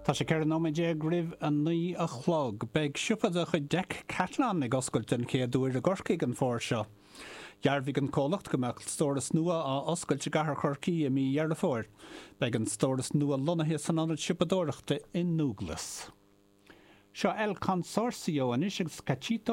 Tá sé 14 nóiméad roimh a 9 a chlog. Beidh siopa de chuid Decathlon ag oscailt den chéad uair i gCorcaigh an fómhar seo. Dhearbhaigh an comhlacht go mbeadh stóras nua á oscailt i gcathair Chorcaí i mí Dheireadh Fómhair. Beidh an stóras nua lonnaithe san ionad siopadóireachta i nDúglas. Seo El Consorcio anois agus Cachito.